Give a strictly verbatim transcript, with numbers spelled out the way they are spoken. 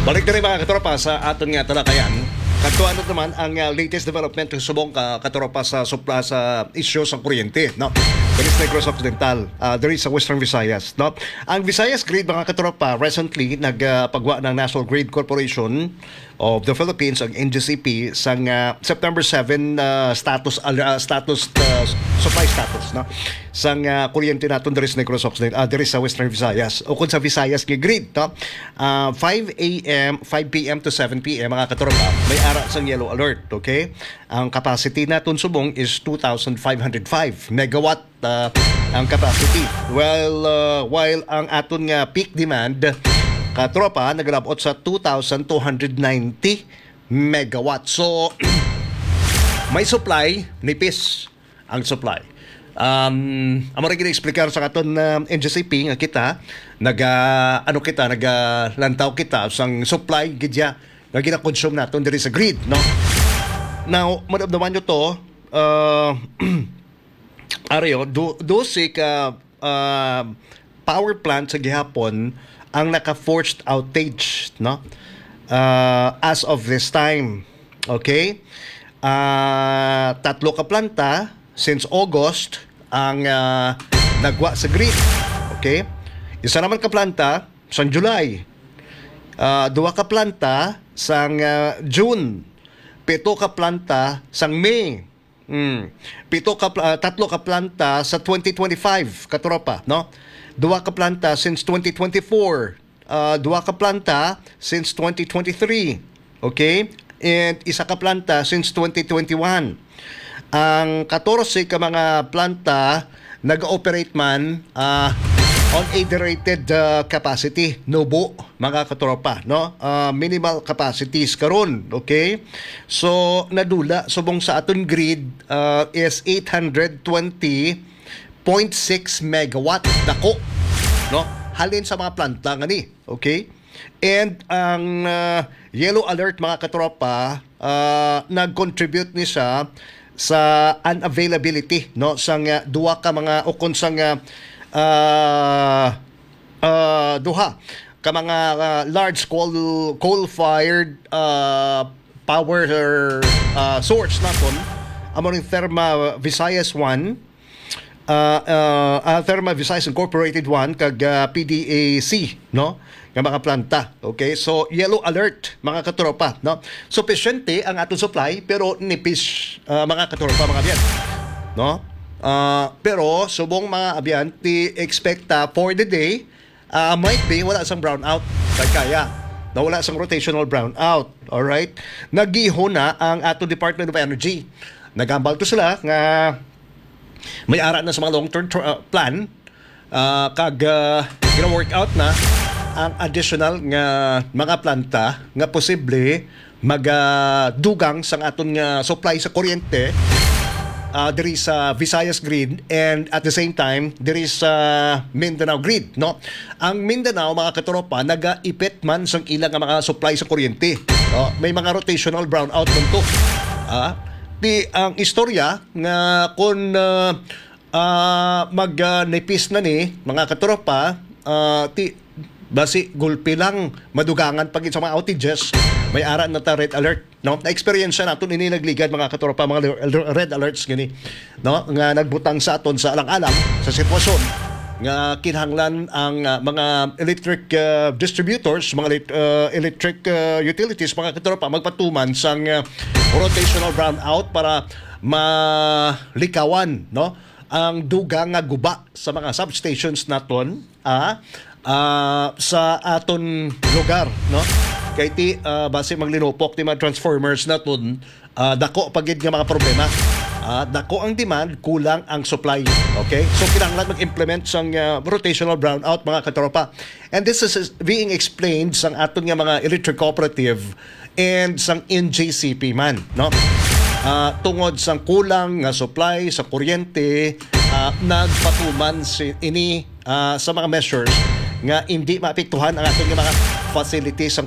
Balik diri, mga katropa, sa aton nga talakayan. Kadto naman ang, ah, latest development subong ka katropa sa supla sa isyu sa kuryente, no? Diri sa Negros Occidental, ah, diri sa Western Visayas, no? Ang Visayas Grid, mga katropa, recently nagpagwa ng National Grid Corporation of the Philippines, ang N G C P, sang, ah, September seven, ah, status, al- ah, status, ah, supply status, no? Sang, ah, kuryente naton diri sa Negros Occidental, ah, diri sa Western Visayas, o kung sa Visayas nga grid, no? Ah, five a m, five p m to seven p m, mga katropa, may ara sang yellow alert, okay? Ang capacity naton subong is two thousand five hundred five megawatt, ah, ang capacity. Well, ah, while ang aton nga peak demand, katropa, nagalabot sa two thousand two hundred ninety megawatt. So, may supply, nipis ang supply. Um, amo ra gid explicar sa aton, ah, N G C P nga kita naga, ano kita, naga lantaw kita sang supply gid ya nga gina-consume naton diri sa grid, no? Now, madamdaman nyo to, uh, Ario, do, dose ka, uh, power plant sa gihapon ang naka-forced outage, no? Uh, as of this time, okay? Ah, tatlo ka planta since August ang, ah, nagwa sa grid. Okay? Isa naman ka planta sang July. Ah, duha ka planta sang, ah, June. Pito ka planta sang May. Mm. Pito ka pla- ah, tatlo ka planta sa twenty twenty-five, katropa, no? Duha ka planta since twenty twenty-four. Ah, duha ka planta since twenty twenty-three. Okay? And isa ka planta since twenty twenty-one. Ang katorse ka mga planta nag-operate man, ah, on a derated, ah, capacity, nubo, mga katropa, no? Ah, minimal capacities karon, okay? So, nadula subong sa aton grid, ah, is eight hundred twenty point six megawatt, dako, no? Halin sa mga planta nga ni, okay? And ang, ah, yellow alert, mga katropa, ah, nag-contribute ni siya sa unavailability, no, sang, ah, duha ka mga, o kung sang, ah, ah, ah, duha ka mga, ah, large coal, coal-fired, ah, power, ah, source naton, amo ning Therma Visayas one, ah, ah, ah, Therma Visayas Incorporated one kag, ah, P D A C, no? Nga mga planta. Okay? So, yellow alert, mga katropa, no? Sufisyente ang aton supply, pero nipis, ah, mga katropa, mga abyan. No? Ah, pero, subong mga abyan, ti expect, ah, for the day, ah, might be, wala sang brownout. Kay kaya, na wala sang rotational brownout. Alright? Nagihon na ang ato Department of Energy. Nagambal to sila nga may ara na sa mga long-term tr- ah, plan, ah, kag, ah, gina-work out na ang additional nga mga planta nga posible magadugang sang aton nga supply sa kuryente, ah, diri sa Visayas Grid and at the same time diri sa Mindanao Grid, no? Ang Mindanao, mga katropa, nagaipit man sang ila nga mga supply sa kuryente. No? May mga rotational brownout man to. Ah, di ang istorya nga kung, ah, ah, mag, ah, nipis na ni, mga katropa, ah, ti basi gulpi lang, madugangan pa gid sa mga outages, may ara na ta red alert, no? Na-experience naton ini nagligad, mga katropa, mga le- red alerts gini, no? Nga nagbutang sa aton sa alang-alang sa sitwasyon nga kinahanglan ang, ah, mga electric, ah, distributors, mga elec- ah, electric, ah, utilities, mga katropa, magpatuman sang, ah, rotational brownout para malikawan, no, ang dugang nga guba sa mga substations naton, ah, ah, sa aton lugar, no? Kay ti, ah, basi maglinupok ti mga transformers naton, ah, dako pa gid nga mga problema. Ah, dako ang demand, kulang ang supply. Okay? So, kinahanglan mag-implement sang, ah, rotational brownout, mga katropa. And this is being explained sang aton nga mga electric cooperative and sang N G C P man, no? Ah, tungod sang kulang nga supply sa kuryente, ah, nagpatuman si ini, ah, sa mga measures nga hindi maapektuhan ang aton nga mga facilities, ang